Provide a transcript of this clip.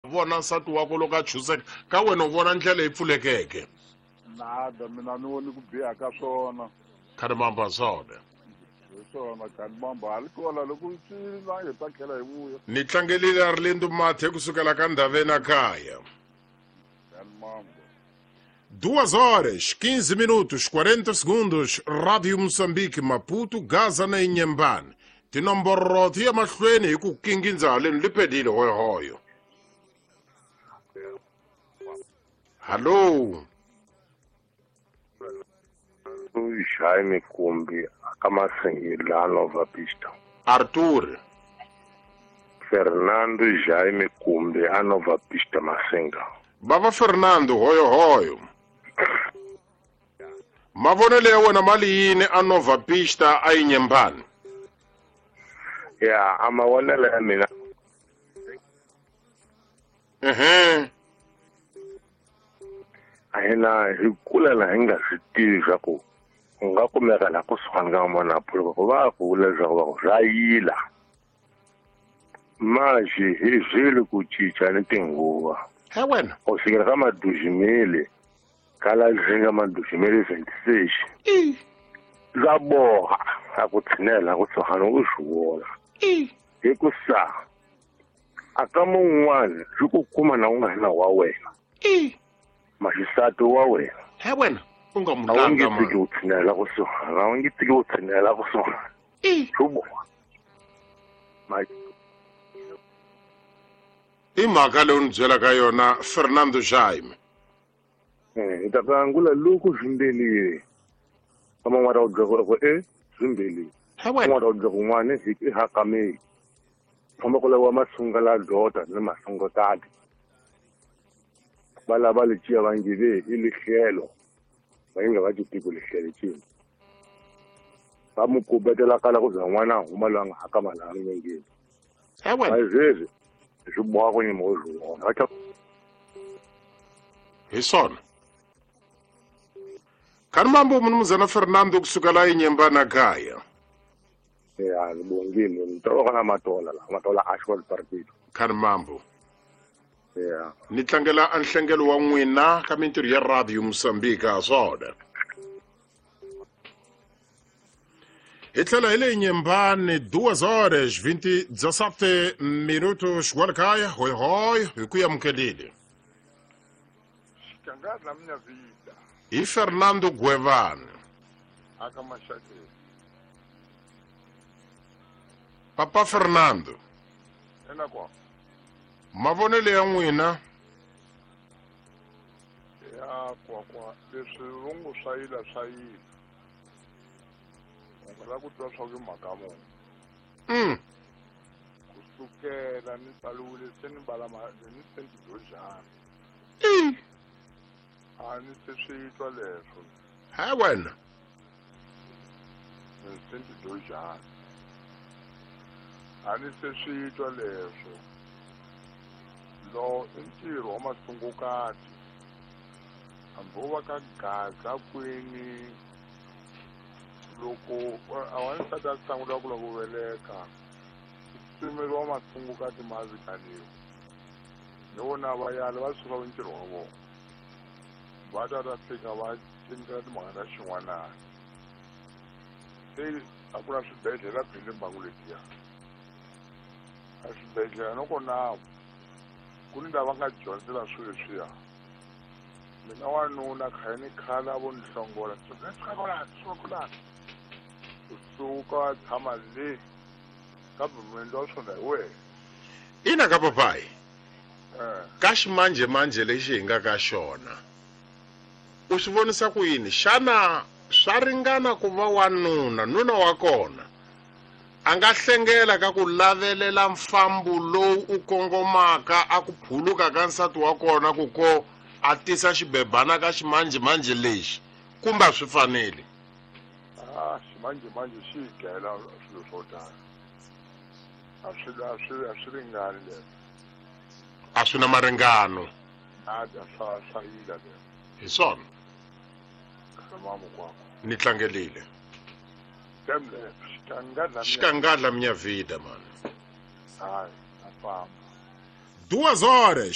Vona nsati wakwe loko a chuseka ka wena u vona ndlela yi pfulekeke. Nada mina ni voni ku biha ka swona. Khalimamba swona. Hi swona Khalimamba a li kona loko swi la hi ta tlhela hi vuya. Ni tlangelile Arlindo Mathe kusukela ka Ndhaveni a kaya. Khalimamba. 2 horas, 15 minutos, 40 segundos, Rádio Moçambique, Maputo, Gaza na Inhambane. Tinomboro ti ya mahlweni hi ku kingindza haleni li pedile hoyohoyo. Hallo. Jaime Kumbi aka Masengila Nova Pista. Arthur. Fernando Jaime Kumbi a Nova Pista Masenga. Bava Fernando hoyohoyo. Mavonelo ya wena mali yini a Nova Pista a Inhambane? Ya, a mavonelo ya mina. A hina hi kula laha hi nga swi tivi swa ku u nga kumeka laha kusuhani ka n'wana phuluka ku va ku vula leswaku va ku swa yila. Manje hi zwile ku cinca ni tinguva. He wena. U fikela ka madujimeli ka la zinga madujimeli 26. Swa boha a ku tshinela kusuhani u swi vona. Hi ku sa a ka mun'wana swi ku kuma na u nga ri na wa wena. Maxisati wa wena. He wena u nga A wu nge mulanga tiki mani. u tshinela kusuhani, a wu nge tiki u tshinela kusuhani. Swi boha. I mhaka leyi u ni byelaka yona Fernando Jaime. Hi ta angula loko swimbelile. Ka man'wana u byela ku e swimbelile. He wena. Man'wana u byela ku n'wana hi hakameli. Famba ku laviwa masunga la dota ni masungotati. Va lava leciya va nge ve i lihlelo. Va nge va tiko lihlelo cini. Va mu kubetela kala ku za n'wana a huma loyi a nga hakama laha milengeni. He wena. A sweswi swi boha ku nyima u swi vona. Va Hi swona. Khalimambo mnumzana Fernando kusukela eNyembana kaya. Ya, ni bongile. Ni toloka na Matola la, Matola Ashwell Partido. Khalimambo. Ya. Ni tlangela a nhlengelo wa n'wina ka mintirho ya Radio Mozambique ha swona. Hi tlhela hi le Nyembane 2 horas 27 minutos kwala hoy hoy hi ku amukelile. Xikangadla minha vida. Hi Fernando Gwevane. Aka Mashakeni. Papa Fernando. Ena kwa. Mavonelo ya n'wina. Ya kwa kwa leswi vongo swa yila swa yila. U nga lava ku twa swa ku mhaka muni. Kusukela ni tsaliwile se ni bala ni senti dojana. A ni se swi twa leswo. He wena. Ni senti dojana. A ni se swi twa leswo. Lo i ntirho wa masungukati. Hambi wo va ka Gaza kwini loko a wansati a sungula ku lava ku veleka pimeriwa masungukati ma vitaniwa. Ni vona va yala va suka ntirho wa vona. Va ta ta fika va cinca timhaka ta xin'wanana. Se a ku na swibedhlele phele mbangu letiya. A swibedhlele loko na ku ni lava nga dyondzela swilo leswiya. Mina wanuna khale ni khale vo ni hlongola. Suka suka Kusuka tshama le kambe muendli wa swona hi wena. Ina ka papayi. Ka ximanjhemanjhe lexi hi nga ka xona. U swi vonisa ku yini? Xana swa ringana ku va wanuna, nuna wa kona a nga hlengela ka ku lavelela mfambo lowu u kongomaka a ku phuluka ka nsati wa kona ku ko a tisa xibebana ka ximanjhemanjhe lexi kumbe a swi faneli? A ximanjhemanjhe xi hi dlayela swilo swo tala. A swi ringani leswo. A swi na maringano. Nada swa yila leswo. Hi swona. Khalimambo kwakho. Ni tlangelile. Xikangadla Xikangadla minha vida, mano. Hayi, a famba. 2 horas